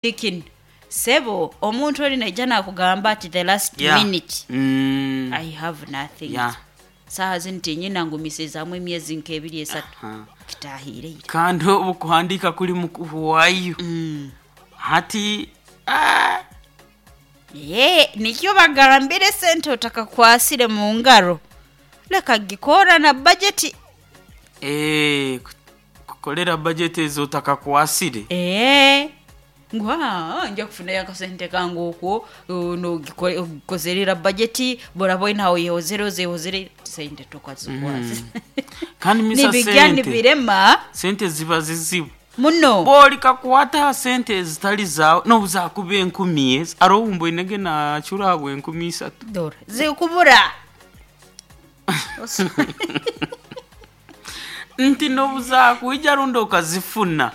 Kinu sebo omuntu oli naija nakugamba ati the last minute I have nothing. Saaha zinu tinyina ngumisizaamu emyezi nk'ebiri esatu kitahiire ira. Kandi obu kuhandiika kuli mukuhwayo hati Nikyo bagambire esente otakakwasire mu ngaro leka gikora na bajeti. Kukolera bajeti ezi otakakwasire. Ngu nja kufunayo akasente kange okwo nogikozerera bajeti boraba oine ahoyehozere ozehozere sente tokazikwasire. Kandi misa Nibigya sente nibirema sente ziba zizibu muno. Bw'olikakwata ha sente ezitali zaawe n'obu zaakuba enkumi ezi haroho obu mboinege naacura habwa enkumi isatu. Dora zikubura. Nti n'obu zaakwija rundi okazifuna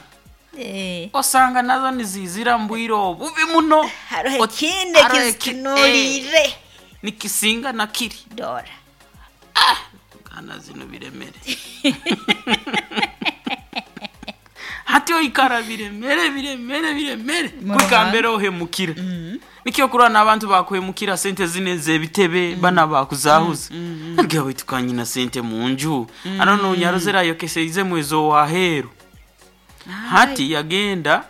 osanga nazo niziizira mu bwire obubi muno. Haroho ekindi Haroho ekizitunuliire. Nikisinga na kiri. Dora. Kana zinu biremere. Hati oikara biremere biremere biremere kuhika mbere ohemukire. Nikyo okurora n'abantu bakuhemukira sente zinu ez'ebitebe bana bakuzahuza. Nagamba baitu kanyina sente mu nju. Haro nonyarozere ayokeseizemu ez'owaheeru. Hati yagenda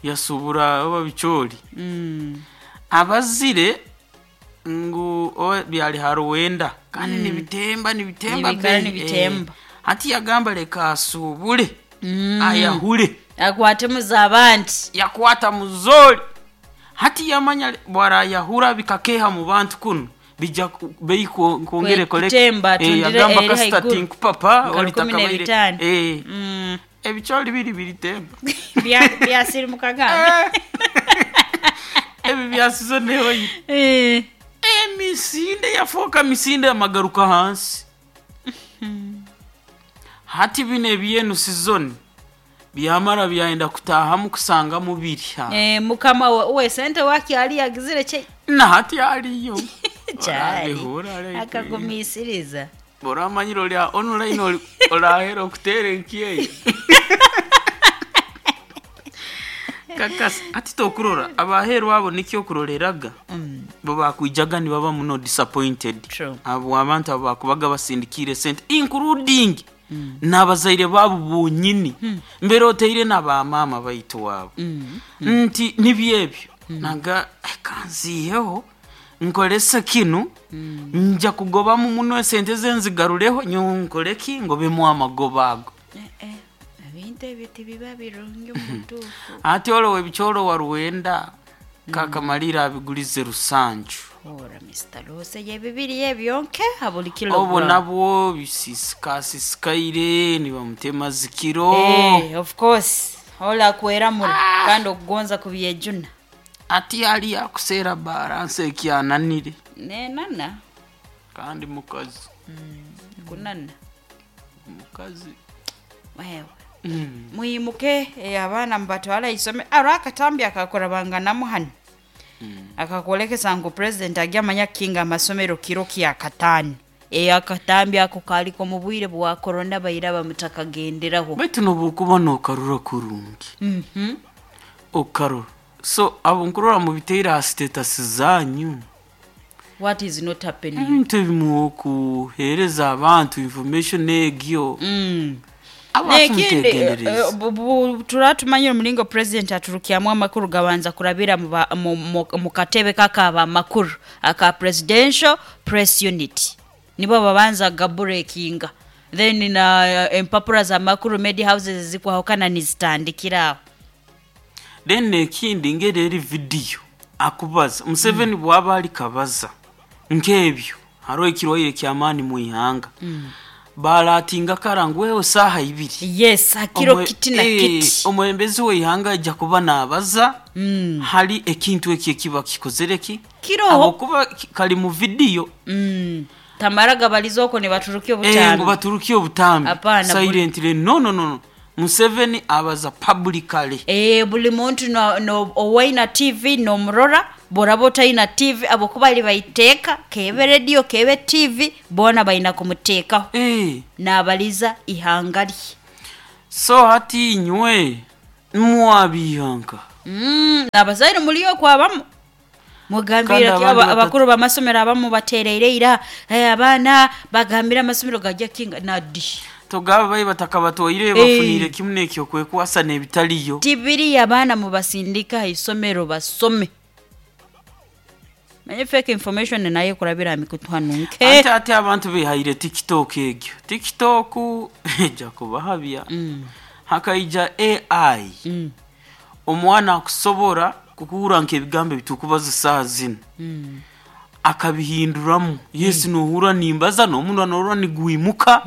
yasubura oba bicoori. Abazire ngu oba byali haruwenda kandi nibitemba nibitemba Nibikara bei. nibitemba. Hati yagamba leka asubule ayahure. Akwatemu z'abandi. Yakwata muzoori. Hati yamanya bwarayahura bikakeha mu bantu kunu bija bei kwongera ekore. Kutemba atundire Yagamba eri kasita haiguru. tinkupapa Nka oli rukumi takabaire. n'ebitaano. Ebicoori biri biritemba. Byasirimuka gambe. Ebi byasize nehoire. Emisinde yafooka misinde amagaruka hansi. Hati bino ebyenu sizoni byamara byayenda kutaahamu kusangamu biri ha. Mukama we sente wakyali yagizire kye Na hati aliyo. Kyali. Orabihura araitu. Akagumisiriza. Oramanyire ori online orahera okuteera enkyeyo. Kakasi hati tokurora abaheeru abo nikyo okuroreraga bo bakwijaga nibaba muno disappointed. True. Abo abantu abo bakubaga basindikiire sente including n'abazaire baabo bonyini mbere oteire n'abamaama baitu waabo nti nibyo ebyo naga kanziiheho nkorese kinu nja kugobamu muno esente ze nzigarureho nyowe nkore ki ngobemu amagoba ago. Ebintu ebyo tibiba birungi omu butuufu. Ati orowe ebicooro waruwenda kakamaliira abigulize rusanju. Ora Mr. Rose yebibiri ebyonke ha buli Obwo kilogram. nabwo bisisikasisikaire nibamutema zikiro. Of course. Ola kweramura kandi okugonza kubyejuna. Ati ali akuseera baransi ekyananire. Nenana. Kandi mukazi. Kunana. Mukazi. Wewe. Mwimuke abaana mubatwale aisomero. Aro akatambi akakurabanganamu hanu. Akakwolekesa ngu president ajya amanya kukinga amasomero kiro kya kataano. Akatambi ako kaliko mu bwire bwa korona baira bamutakagenderaho. Baitu n'obu n'okarora kurungi. Okarora. So abo nkurora mubiteire aha status zanyu. What is not happening? Ebintu ebimwe okuheereza abantu information egyo. Abantu Nekindi mutegendereze. turatumanyire omulingo president aturukyamu amakuru gabanza kurabira mu katebe kakaba amakuru aka presidential press unit. Nibo babanza gaburekinga. Then na empapura za makuru media houses zikwahukana nizitandikira aho. Then ekindi ngeri eri video akubaza Museveni bwaba ali kabaza nk'ebyo hariho ekirwaire ky'amaani mu ihanga. Baratinga kara ngu wewe saaha ibiri. Yes, hakiro kiti na kiti. Omwebembezi w'eihanga aija kuba naabaza hari ekintu eki ekiba kikozere ki? Kiroho. Habwokuba kari mu video. Tamara gabaliza okwo nibaturukia Ngu obutambi. baturukie obutambi. Hapana, Silently. No, no, no, no. Museveni abaza publicly. Buli muntu no, no, owaina TV nomurora boraba otaina TV abokuba ali baiteeka kebe radio kebe TV boona baina kumuteekaho. Naabaliza ihanga rye. So hati inywe mwabihanka. Abazaire muliyo kwabamu Kandi mugambire abandi abakuru b'amasomero abamu batereire ira, abaana bagambire amasomero gajya kinga nadi. Togaba bayi batakabatwaire bafunire kimu nekyo kwekwasa n'ebitaliyo. Tibiri abaana mubasindika ha isomero basome. Manye fake information nayo kurabira mikutu hanu nke. Ate ate abantu behaire TikTok, egyo TikTok ejja kubahabya. Hakaija AI. Omwana akusobora kukuhura nk'ebigambo ebitukubaza saaha zinu, akabihinduramu. Yes, nohura nimbaza n'omunwa norora nigwimuka,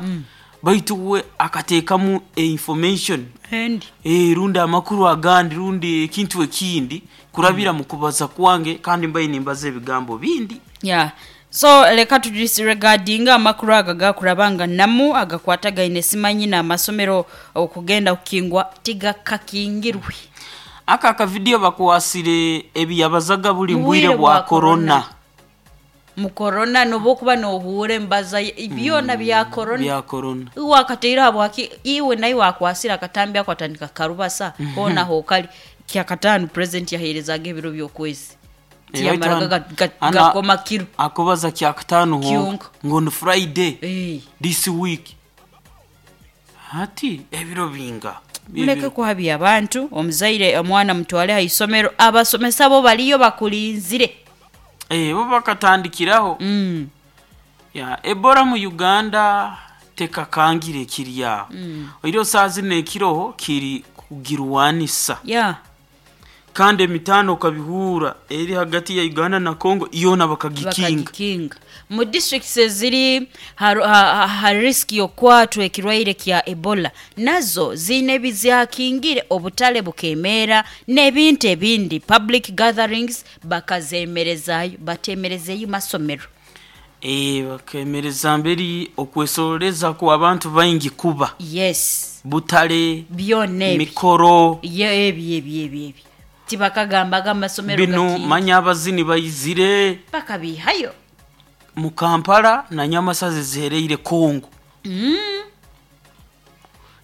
baitu we akateekamu information Endi. Rundi amakuru agandi rundi ekintu ekindi kurabira mu kubaza kwange, kandi mbaye nimbaza ebigambo bindi. Yeah. So leka tudisregardinga amakuru aga gakurabanga namu agakwatagaine simanyi n'amasomero okugenda kukingwa tigakakingirwe. Aka akavidiyo bakwasire ebiyabazaga buli Bwire mbwire bwa bwa korona. Mu korona noba nohuura embaza byona bya korona. Bya korona. Wakateire habwaki iwe naye wakwasira akatambi ako atandika karubasa hoona hokali kyakataano president yaheerezaga ebiro by'okwezi tiyamaraga gakoma kiro. Akubaza kyakataano honka Kyonka. ngo ni Friday this week, hati ebiro binga? Muleke kuhabya abantu. Omuzaire omwana mutwale ha isomero, abasomesa bo baliyo bakulinzire. Bo bakatandikiraho. Ya Ebola mu Uganda tekakangire kiri aho. Oiro saa zino ekiroho kiri kugirwanisa. Kandi emitano okabihura eri hagati ya Uganda na Congo yona bakagikinga. Bakagikinga mu districts eziri ha risk yokwatwa ekirwaire kya Ebola, nazo ziine ebizyakingire, obutale bukemeera n'ebintu ebindi, public gatherings bakazemerezayo, batemerezeyo masomero. Bakemereza mberi okwesoreza ku abantu baingi kuba butale, byona ebyo, mikoro. Ye ebyo ebyo ebyo ebyo tibakagambaga amasomero bino gakinga. Manya abazini bayizire bakabihayo mu Kampala na Nyamasazi zihereire Congo.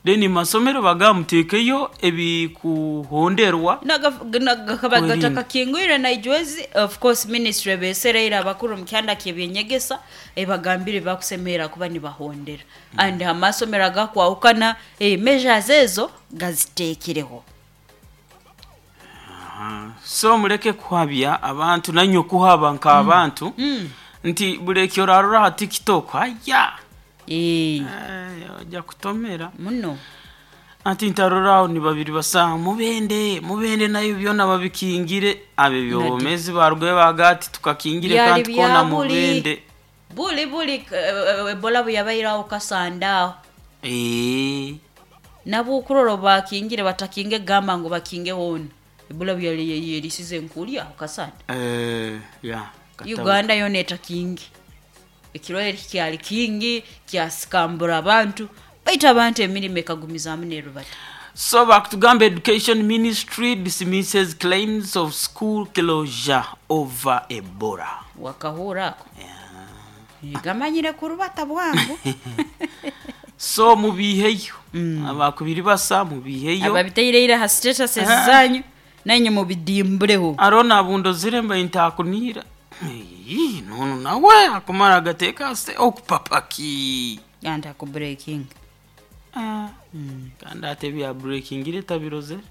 Then masomero bagamutekeyo ebikuhonderwa. Gakaba Kwerinda. gatakakingwire naijwezi. Of course ministry besereire abakuru mukyanda kyebyenyegesa ebagambire bakusemerera kuba nibahondera, and amasomero agakwahukana, measures ezo gaziteekireho. So muleke kuhabya abantu nanywe kuhaba nk'abantu nti buli ekyo orarora ha TikTok aya. Ojja kutomera. Muno. Ati ntaroraho ni babiri basa mubende mubende nayo byona babikingire abe byobomezi barugwe bagati tukakingire Byali kandi kona bya buli mubende. Buli buli Ebola buyabairaho kasandaaho. Nabo okurora bakingire batakinge gamba ngu bakinge hoona Ebola buyali yerisize nkulya aho kasanda. Ya katabu. Uganda yona etakingi, ekirwaire kyali kingi kyasikambura abantu, baitu abantu emirimo ekagumizaamu nerubata. So bakutugamba education ministry dismisses claims of school closure over Ebola. Wakahura ako gamanyire kurubata bwangu. So mubiheyo abakubiri basa mubiheyo. Ababiteireire ha status zanyu nanye mubidimbureho. Arona abundozire mba ntakunira. Ii, nono nawe akumara agateka se okupapaki. Yanda ku breaking. Kandi ate bya breaking tabirozere.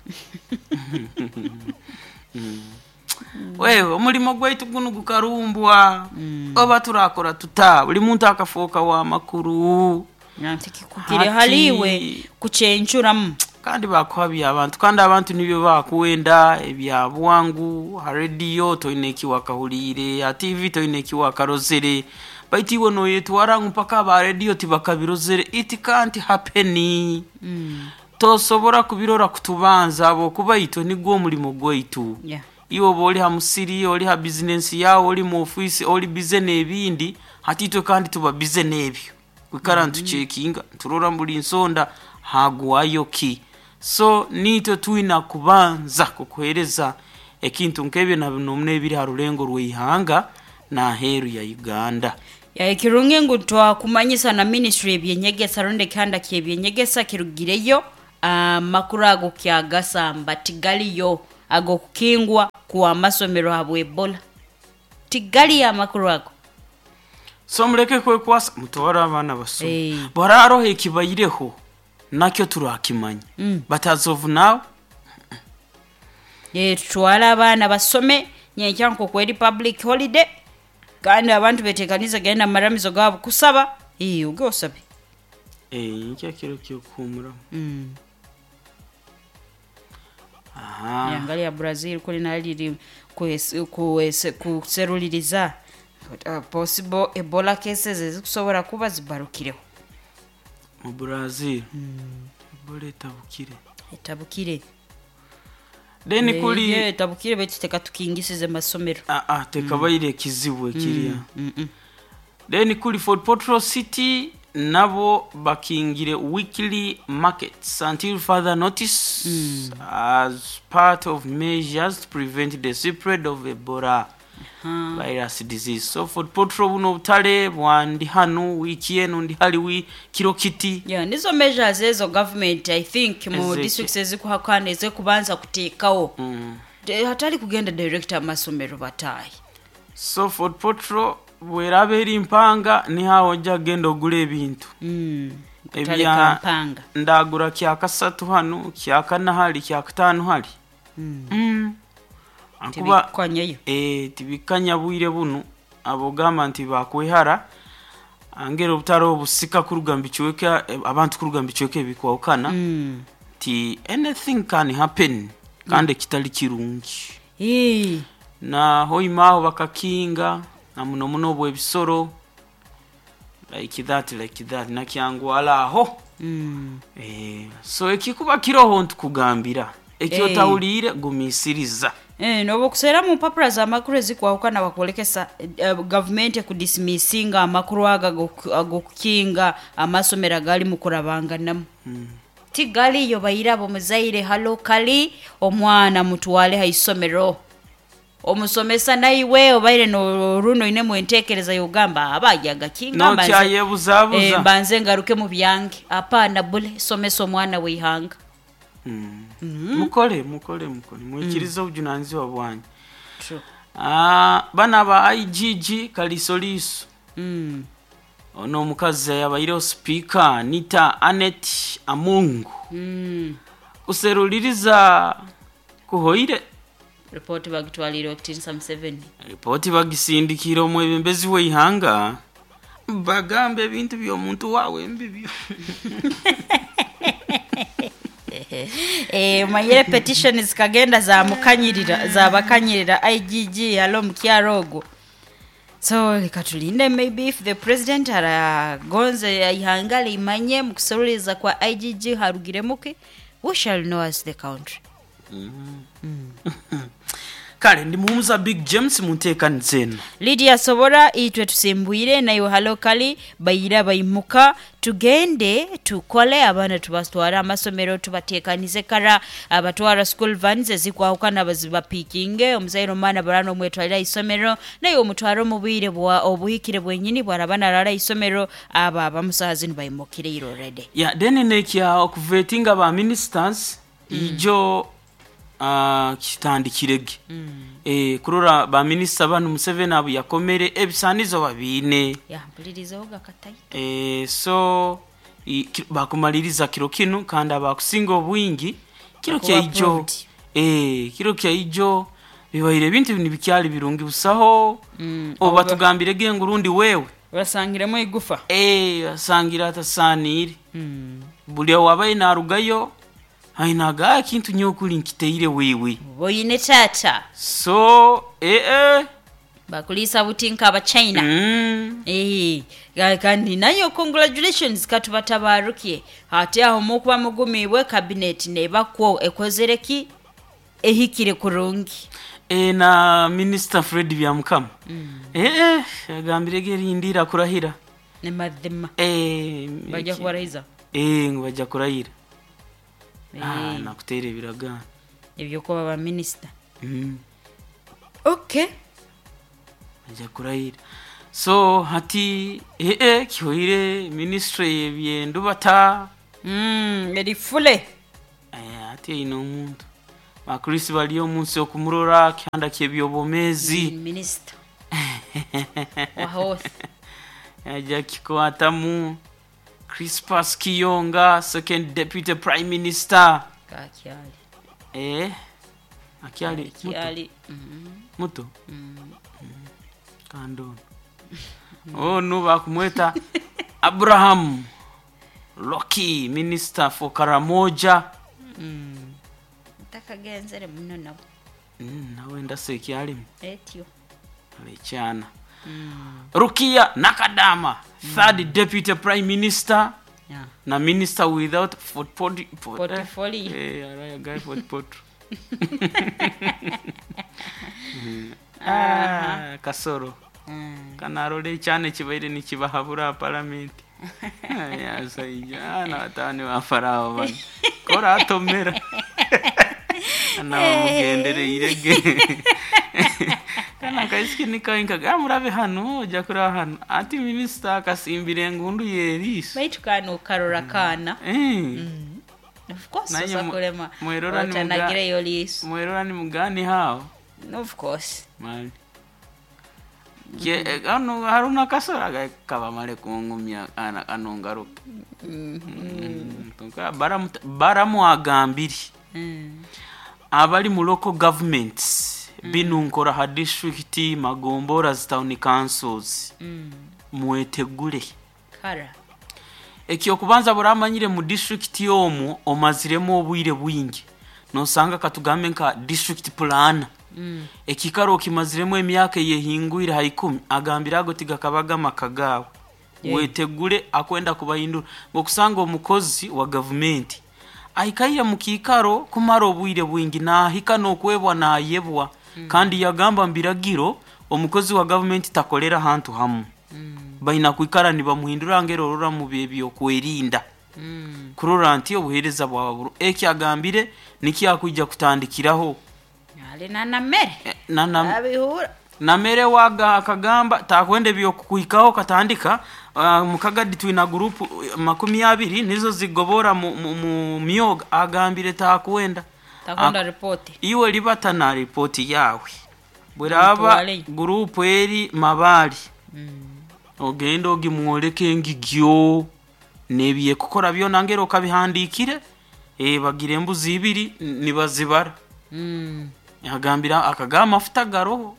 Wewe omulimo gwaitu guno gukarumbwa, oba turakora tuta buli muntu akafuuka wa makuru. Nanti kikukire haliwe kuchenchuramu. Kandi bakuhabya abantu, kandi abantu nibyo bakuwenda ebya bwangu. Ha rediyo toine ekiwakahuriire, ha TV toine ekiwakarozere, baitu iwe noyetwara ngu mpaka aba rediyo tibakabirozere. It can't happen. Tosobora kubirora kutubanza habwokuba itwe nigwo omulimo gwaitu. Iwe oba oli ha musiri, oli ha bizinensi yawe, oli mu ofisi, oli bize n'ebindi, hati itwe kandi tuba bize n'ebyo kwikara ntucekinga nturora buli nsonda hagwayo ki. So nitwe twina kubanza kukuhereza ekintu nk'ebyo na bino ebiri ha rulengo rw'eihanga n'aheeru ya Uganda. Ya ekirungi ngu twakumanyisa na ministry ebyenyegesa rundi ekihanda kyebyenyegesa kirugireyo amakuru ago kyagasamba tigaliyo. Ag'okukingwa kw'amasomero habwa Ebola. Tigaliyo amakuru ago. So mureke kwekwasa, mutware abaana basome. Bwararoho ekibaireho nakyo turakimanya, but as of now. Tutwale abaana basome nyenkya nkoku eri public holiday, kandi abantu betekanize genda mu maramizo gaabo kusaba. Oge osabe. Nkya kiro kyokuhumuramu. Aha. Angalia Brazil kuli naliri kuseruliriza possible Ebola cases ezikusobora kuba zibarukireho. Mu Brazil Ebola etabukire. Etabukire. Then kuli Etabukire, baitu tekatukingisize masomero. Ah, ah, tekabaire ekizibu ekiriya. Then kuli Fort Portal City nabo bakingire weekly markets until further notice as part of measures to prevent the spread of Ebola virus disease. So Fort Portal buno obutale bwandi hanu wiiki eno ndi hali wi kiro kiti. Yeah, nizo measures ezo government, I think, mu districts ezikuhakana ezikubanza kuteekawo. Hatali kugenda direct amasomero bataayi. So Fort Portal bweraba eri mpanga, nihawo ojja kugenda ogula ebintu. Kutale kampanga. Ndagura kyakasatu hanu, kyakana hali, kyakataano hali. Akuba Tibikanyayo. Tibikanya bwire bunu abogamba nti bakwehara angera obutare obusika kuruga mu bicweka, abantu kuruga mu bicweka ebikwawukana, nti anything can happen kandi ekitali kirungi. Na hoima aho bakakinga na muno muno obwebisoro like that, like that, nakyangwala aho. So ekikuba kiroho ntukugambira ekyo, otawuliire gumiisiriza. Noba okuseera mu mpapura z'amakuru ezikwawukana bakwolekesa gavumenti ekudismissinga amakuru ago ag'okukinga amasomero agali mu kurabanganamu. Tigaliyo. Bairabo muzaire, halo kali omwana mutwale ha isomero, omusomesa naiwe obaire noruno oinemu entekereza yogamba abagyagakinga Nokyayebuzabuza. Mbanze ngaruke mu byange. Apana bule, somesa omwana w'eihanga. Mukole, mukole, mukole, mwikirize obujunanizibwa bwanyu. True. Ah, bana ba IGG kalisoliso. Ono omukazi yabaireho sipiika Anita Anet Amungu, kuseruliriza kuhoire. Ripoti bagitwalire okutinisa Museveni. Ripooti bagisindikire omwebembezi w'eihanga, bagamba ebintu by'omuntu waawe mbibyo. Manyire petition zikagenda zamukanyirira, zabakanyirira IGG halo mukyaro ogwo. So leka tulinde, maybe if the president aragonze ihanga limanye mukuseruliriza kwa IGG harugiremuki, we shall know as the country. Kale ndi muhumuza Big James mu nteekaniza eno. Lydia Sobora, itwe tusimbwire naiwe halo kali bayira baimuka tugende tukole abaana tubatware amasomero tubatekanize kara abatwara school vans ezikwahukana bazibapikinge omuzaire omwana barana omwetwalira isomero naye omutware omu bwire bwa obuhikire bwenyini bwaraba narara isomero abo abamusaha zinu baimukire already. Ya, then nekya okuvetinga ba ministers ijo kitandikirege kurora ba minister banu Museveni abo yakomere ebisanizo babiine. Ya, mpulirizeho gakataito. So bakumaliriza kiro kinu kandi abakusinga obwingi kiro Bakuba kyaijo. approved. Kiro kyaijo bibaire ebintu nibikyali birungi busaho oba batugambire ngu rundi wewe basangiremu igufa. Asangira atasaniire buli wabaye narugayo ainaga ekintu nyokuli nkiteire wewe. Boyine tata. So bakulisa buti nk'abachina. Kandi nayo congratulations, katubatabarukie ate aho mukuba mugumibwe cabinet nebakwo ekozereki ehikire kurungi. Na Minister Fred Byamukama agambire gerindira kurahira. Ne mazima bajja kubarahiza. Ngu bajja kurahira. Nakuteera ebiragaano. Ebyokuba ba minister. Okay. Bajja kurahira, so hati kihoire ministry yebyendubata. Erifule. Hati eine omuntu. Bakrisi bali omunsi okumurora kihanda ky'ebyobwomeezi. Minisita wa health. Ajja kikwatamu. Crispus Kiyonga, second deputy prime minister. Kakyali. Akyali muto. Kyali. Muto. Kandi ono ono bakumweta Abraham Loki, minister for Karamoja. Takagenzere muno nabo. Nawe ndase ekyalimu. Etyo. Alekyana. Rukia Nakadama, third deputy prime minister. Yeah. Na minister without Portfolio. Araya guy portfolio. Ah, kasoro. Kanarole cyane kibaire nikibahabura parliament. Yasaija na batani ba farao bano. Kora atomera. Anabamugendere irege. Kana kaisiki nikainka murabe hano ojya kuri hano ati minister akasimbira engundu yerisa. Baitu kano karora kana. Of course Naye osakulema. mwerora ni muga- Otanagireyo liiso. Mwerora ni mugani hao. Of course. Mali. Ke ano haruna kasora kabamale kungumya ana anongaruka. Tonka baramu agambiri. Abali mu local governments binunkora ha district magombora town councils. Mwetegule. Kara. Ekyokubanza buramanyire mu district yomu omaziremu obwire bwingi. Nosanga katugambe nka district plan. Ekikaro okimaziremu emyaka eyehingwire ha 10 agambira ago tigakabaga makagawe. Wetegule akwenda kubahindura ngokusanga omukozi wa government aikaire mu kikaro kumara obwire bwingi nahika nokwebwa nayebwa. Kandi yagamba mbiragiro omukozi wa government takolera hantu hamu. Baina kwikara nibamuhindura ngero orora mu byokwerinda. Kurora nti obuhereza bwa buru eki agambire niki akwijja kutandikiraho. Ali nanamere. Abihura. Namere waga akagamba takwende byokukuhikaho katandika mukagadi twina group 20 nizo zigobora mu myoga agambire takwenda. Takwenda report. Iwe libata na report yawe. Bweraba group eri mabali. Ogenda ogimwoleke ngigyo nebiye kukora byona ngero kabihandikire bagire embuzi ibiri nibazibara. Agambira akagamba mafuta garoho.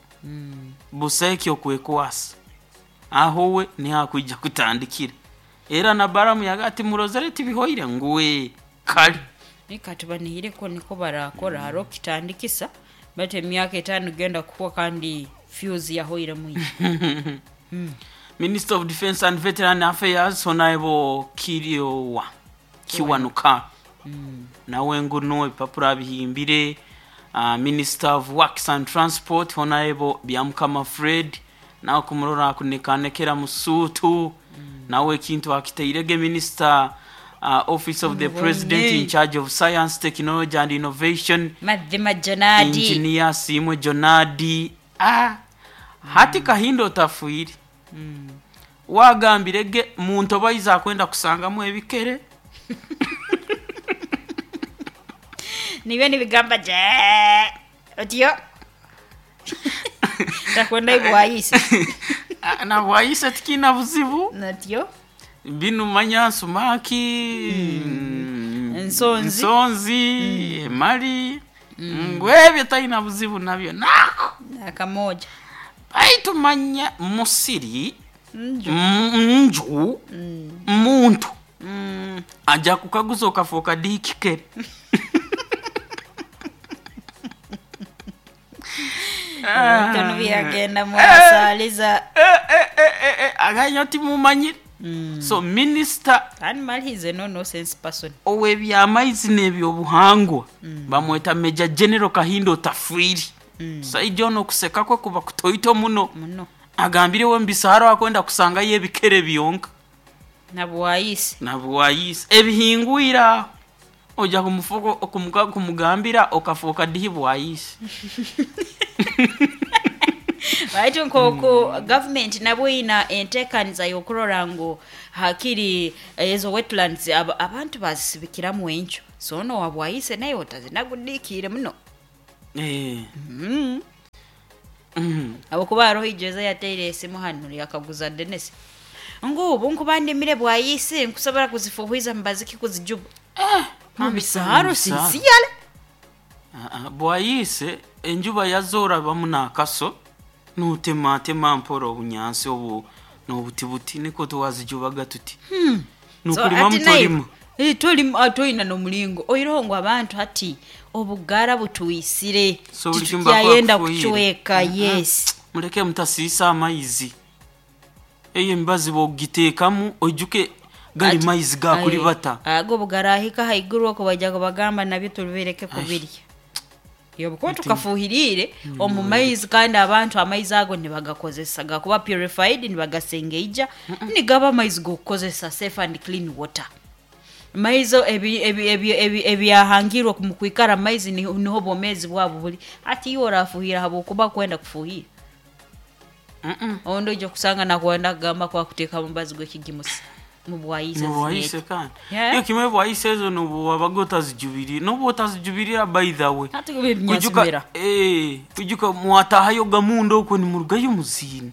Buseki okwekwasa. Aho we ni hakwijja kutandikira. Era na baramu yagati murozereti bihoire nguwe kali. Nikatubanihire ko niko barakora haro kitandikisa bate emyaka 5 genda kuwa kandi fuse yahoire muyi. Minister of Defense and Veteran Affairs Honorable Kiryowa Kiwanuka. Nawe nguno ipapura bihimbire. Minister of Works and Transport Honorable Byamukama Fred nawe kumurora kunikanekera musutu. Nawe kintu akiteirege Minister Office of the President in charge of Science, Technology and Innovation Madhima Jonadi. Engineer Simwe Jonadi. Hati Kahindo Tafuiri. Wagambirege muntu baiza kwenda kusangamu ebikere. Niwe nibigamba je. Otyo. Takwenda ibwayise. Na bwayise tikina buzibu. Natyo. Binu manya sumaki. Nsonzi. Nsonzi, mali. Ngwebye taina buzibu nabyo nako. Nakamoja. Baitu manya musiri. Nju. Muntu. Aja kukaguza okafoka dikikere. Tano byagenda mwasaliza. Aganya timumanyire. So minister Animal he's a no nonsense person. Owe byamaizi n'ebyobuhangwa. Bamweta Major General Kahindo Tafuiri. Saijjo no kuseka kwe kuba kutoito muno. Muno. Agambire we mbisahara akwenda kusanga ye bikere byonka. Nabwayise. Nabwayise. Ebihingwira. Oja kumufuko kumugambira okafoka dihibwayise. Baitu nkoko government nabo ina entekaniza yokurora ngu hakiri ezo wetlands abantu bazisibikiramu encho. So no wabwayise nayo otazinagudikire muno. Eh. Habwokuba haroho ijeza yateire esimu hanu yakaguza Dennis ngu ubu nkuba ndimire bwayise nkusobora kuzifuhwiza mubaziki kuzijuba mu bisaaro Mu bisaaro. sinsiyale. Ah, ah, bwayise enjuba yazorabamu n'akaso nutematema mpora obunyansi obu n'obutibuti niko twazijubaga tuti nukulima ati naye- mutolima. Eh, tolima toyina n'omulingo oiroho ngu abantu hati obugara butuisire. So buli kimu titukyayenda bakufuhire. kucweka. Yes. Muleke mutasiisa amaizi, eyo emibazi bogiteekamu oijuke gali maizi gakulibata. Ago bugarahika haiguru oko bajja kubagamba nabyo tubibereke kubirya yobukuba tukafuhirire omu maizi, kandi abantu amaizi ago nibagakozesa gakuba purified, nibagasengeija nigaba amaizi gokukozesa, safe and clean water. Maizi ebyahangirwe mu kwikara maizi niho bwomezi bwabo buli. Ati iwe orafuhira habwokuba kwenda kufuhira, ondi oija kusanga nakwenda kugamba kwakuteeka mubazi gw'ekigimusa mubwayise. Mubwayise kandi Yeah. iyo kimwe bwayise ezo nobu wabaga otazijubirire, nobu otazijubirira, by the way. Hati ebinyasimera. Kujuka kujuka mwatahayo gamunda okwo nimurugayo muziina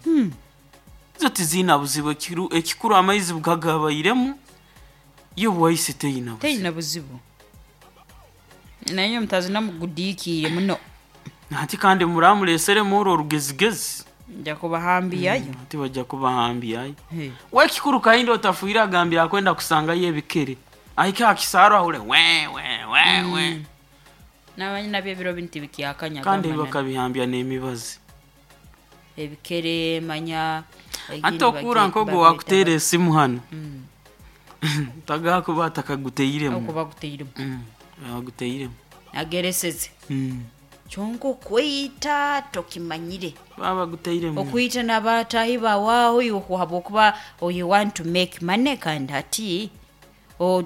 zo tiziina buzibu. Ekikuru amaizi bugagabairemu, yo bwayise teyina buzibu. Teyina buzibu, naye mutazina mugudiikiire muno. Ati kandi muramuleseremu orwo orugezigezi. Nja kubahambiyayo. Ati bajja kubahambyayo. Wekikuru kahindi otafuire agambira akwenda kusangayo ebikere ahike akisaaro ahure we we we we. Namanyi nabyo ebiro binu tibikyakanya. Kandi gamba bakabihambya n'emibazi. Ebikere manya Ate okuura nkogo wakuteera esimu hano tagakuba atakaguteiremu. Okuba guteiremu. Aguteiremu. Agereseze kyonka okweyita tokimanyire. Baba guteiremu. Okwita n'abatahi bawaho habwokuba you want to make money, kandi hati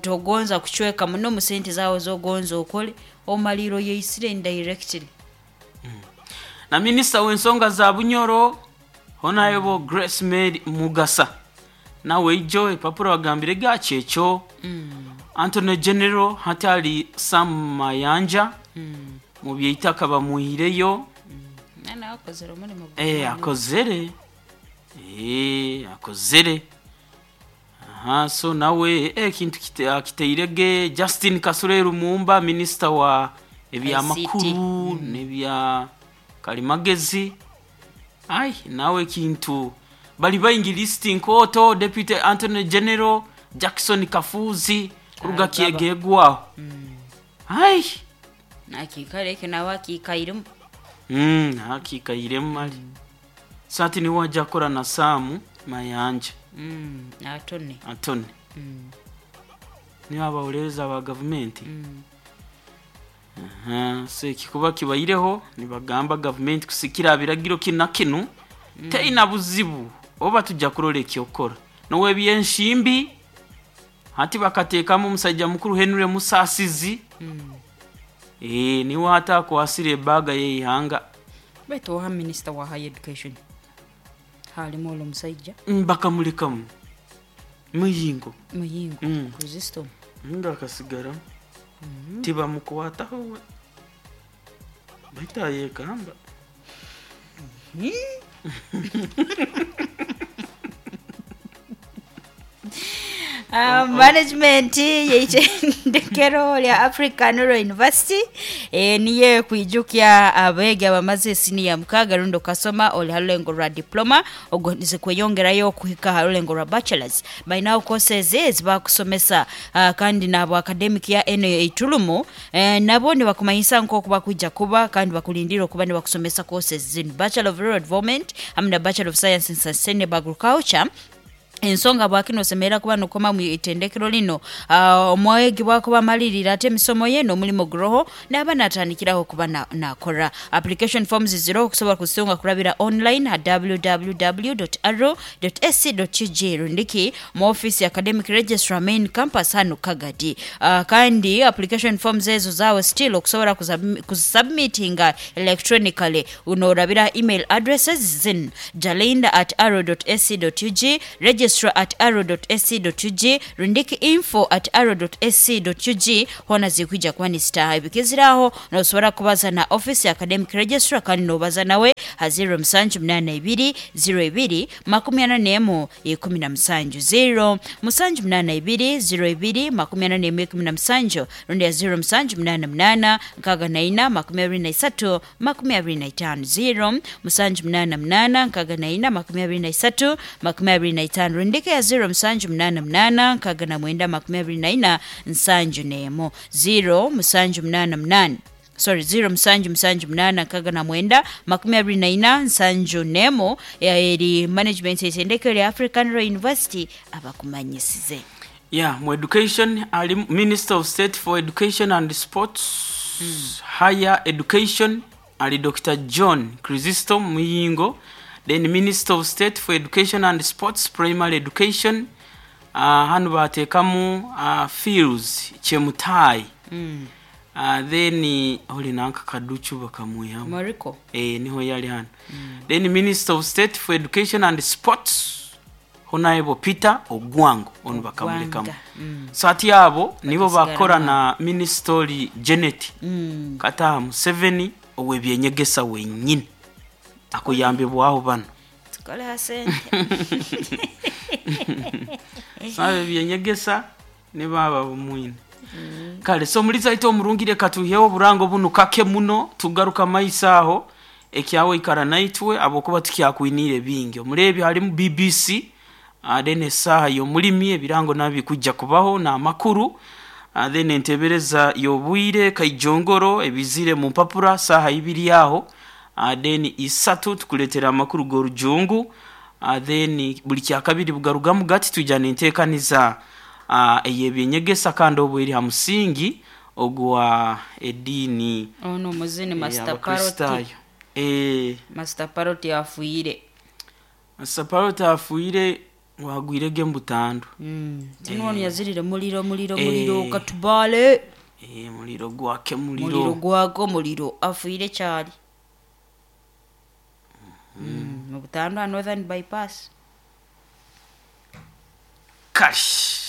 togonza kucweka muno mu sente zawe zogonza okole omaliro yeisire indirectly. Na minisita w'ensonga za Bunyoro Honorable Grace Mary Mugasa nawe ijo epapura bagambire gakyekyo. Attorney General hati ali Sam Mayanja mu byeitaka bamuhireyo. Nawe akozere omulimo. Akozere, akozere. Aha, so nawe ekintu akiteirege. Justin Kasule Lumumba, minisita wa ebyamakuru n'ebya kalimagezi, ai nawe ekintu bali baingi lisiti nkooto. Deputy Attorney General Jackson Kafuzi kuruga Agaba. Kyegegwaho ai. Akiikara ekyo nawe akiikairemu. Akiikairemu mali sati niwe ajja kukora na Saamu Mayanja. Atone. Atone niwe abawolereza ba gavumenti. Aha, so ekikuba kibaireho nibagamba gavumenti kusikira biragiro kinu na kinu teina buzibu oba tujja kurora ekyokora nowebyenshimbi hati bakateekamu omusajja mukuru Henry Musasizi. Niwe hati akwasire ebaga yeihanga. Baitu oha minisita wa high education halimu olwo omusaija? Bakamulekamu Muyingo. Muyingo. Kristo. Nga akasigaramu tibamukwataho we baitu ayekamba. Management yeitendekero lya African Rural University niye kwijukya abeegi abamaze esiniya 6 rundi okasoma oli ha rulengo rwa diploma ogondeze kweyongerayo okuhika ha rulengo rwa bachelors, balinawo courses ezibakusomesa, kandi nabo academic ya eno eitulumu nabo nibakumanyisa nk'oku bakwija kuba kandi bakulindira okuba nibakusomesa courses zinu: Bachelor of Rural Development hamwe na Bachelor of Science in Sustainable Agriculture. Ensonga bwakino osemerera kuba nokoma mu itendekero lino, omwegi bwakuba amalirira ate emisomo ye n'omulimu guroho n'aba natandikiraho kuba nakora. Application forms ziroho okusobola kuzitunga kurabira online ha www.aro.ac.ug rundiki mu office ya academic registrar, main campus hano Kagadi. Kandi application forms ezo zawe still okusobola kuzisubmitinga electronically unorabira email addresses zin jalinda@aro.ac.ug, registrar. registrar at aro ac ug rundiki info at aro ac ug hoona zikwija kuba nizitaaha. Ebikizire aho nosobora kubaza na office ya academic registrar kandi nobaza nawe ha 0782 02 41 17 0782 02 41 17 rundi ya 0788 64 23 25 0788 64 23 25 rundika ya 0788 69 24 0788 sorry 0778 69 24 71 eri management etendekero lya African Royal University abakumanyisize. Yeah, mu education ali Minister of State for Education and Sports, Higher Education ali Dr. John Chrysostom Muyingo. Then Minister of State for Education and Sports, Primary Education, hanu bateekamu Fields Chemutai. Then oli nanka Kaduchu bakamwihamu. Mariko. Niho yali hano. Then Minister of State for Education and Sports Honorable Peter Ogwango onu bakamulekamu. So ati abo nibo bakora na Ministry Janet Kataha Museveni ow'ebyenyegesa wenyini akuyambibwaho bano. Tukole asente. Sabe byenyegesa ne baba bumwine. Kale so muliza ito omurungire katuheho oburango bunu kake muno tugaruka maiso aho ekyawe ikara naitwe abokuba tukyakwinire bingi. Omurebi halimu BBC then esaha y'omulimi ebirango nabi kujja kubaho na makuru, then entebereza y'obwire kaijongoro ebizire mu mpapura saha ibiri aho, then isatu tukuletera amakuru g'orujungu, then buli kyakabiri bugarugamu gati tujana enteekaniza ey'ebyenyegesa kandi obwo eri ha musingi ogwa ediini. Ono muzini Master Parrot. Master Parrot yafuire. Master Parrot afuire wagwirege mbutandu. Tino yazirire muliro muliro muliro katubale. Muliro gwake muliro. Muliro gwako muliro afuire kyali. Mu Butanda Northern Bypass. Kash.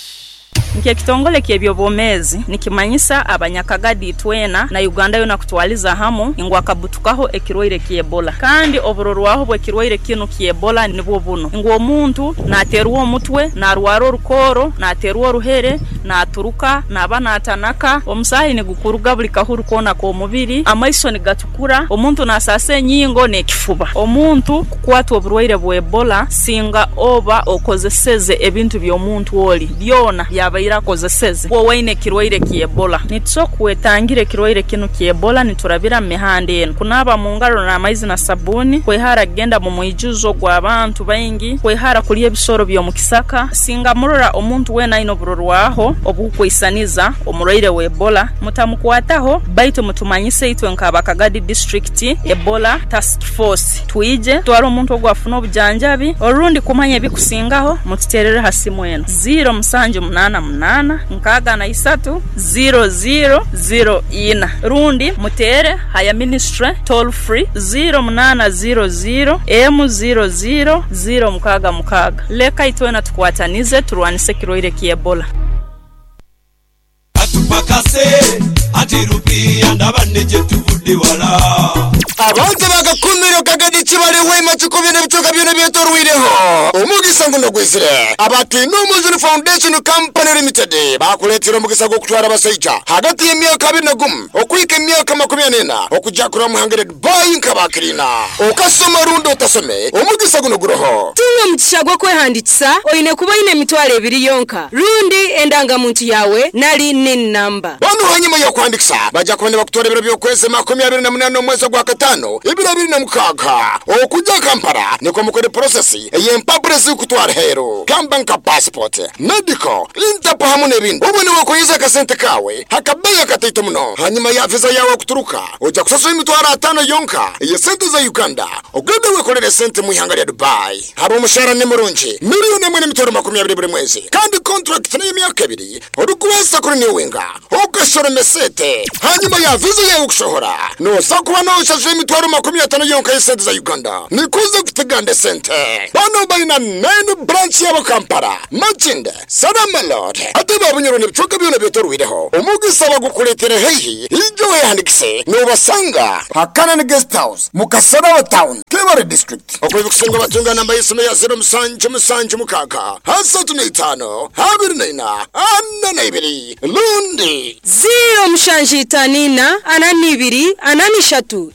Nk'ekitongole ky'ebyobwomeezi nikimanyisa abanyakagadi twena na Uganda yona kutwaliza hamu ngu akabutukaho ekirwaire ky'Ebola. Kandi oburorwaho bw'ekirwaire kinu ky'Ebola nibwo buno ngu omuntu naterwa omutwe, narwara orukoro, naterwa oruhere, naturuka, naba natanaka, omusaahi nigukuruga buli kahuru koona k'omubiri, amaiso nigatukura, omuntu nasasa enyingo n'ekifuba. Omuntu kukwatwa oburwaire bwa Ebola singa oba okozeseze ebintu by'omuntu oli byona byabaire akozeseze wowe ekirwaire ky'Ebola. Nitusobola kwetangira ekirwaire kinu ky'Ebola niturabira mu mihanda eno: kunaaba mu ngaro n'amaizi na sabuni, kwehara kugenda mu mwijuzo gw'abantu baingi, kwehara kulya ebisoro by'omu kisaka. Singa murora omuntu weena aine oburorwaho obukwisaniza omurwaire wa Ebola, mutamukwataho, baitu mutumanyise itwe nk'abakagadi district Ebola task force, twije twara omuntu ogwo afune obujanjabi. Orundi kumanya ebikusingaho mututerere ha simu eno 0788 63 00 04, rundi mutere haya ministry toll free 0800 M00 066. Leka itwena tukwatanize turwanise ekirwaire ky'Ebola. Atupakase atirupia ndabane tuvudde wala. Abantu bagakumiro kagadi kibale wema kikubye n'ebitoka byona byetorwireho. Omugisa nguno gwizire. Abati Numuzuni Foundation Company Limited bakuleetera omugisa gw'okutwara abasaija hagati y'emyaka 21 okwika emyaka 44 okujja kurwa muhangire Dubai nk'abakirina. Okasoma rundi otasome omugisa guno guroho. Tunga omugisha gw'okwehandikisa oine kuba oine emitwaro ebiri yonka rundi endangamuntu yawe nari NIN number. Bano hanyuma y'okuhandikisa bajja kuba nibakutwara ebiro by'okwezi 28 omwezi gwa katano ibiro 26 okujja Kampala niko mukore process ey'empapura zikutwara hero gamba nka passport, medical, Interpol hamwe n'ebindi. Ubu niwe kuyiza akasente kawe hakabeya kataito muno. Hanyuma ya visa yawe kuturuka ojja kusasura emitwaro 5 yonka eye sente za Uganda ogende wekolere sente mu ihanga lya Dubai. Haba omushahara ni murungi 1,020,000 buri mwezi kandi contract ni emyaka 2 orikubaasa kuri niwenga okashora mesete. Hanyuma ya visa yawe kushohora nosa kuba noshasura emitwaro 50 yonka y'esente za Uganda nikuze kuteganda sente. Bano balina 9 Baine branch yabo Kampala, Makindye, Salama Road, ate babunyoro n'ebicweka byona byetorwireho. Omugisa bagukuletere haihi, ijo wehandikise nobasanga Hakanan Guest House mu Kasarabo Town, Kibale District. Okwebikusinga batunga namba y'esimu ya 0776 35 24 42 lundi 0754 42 43 10.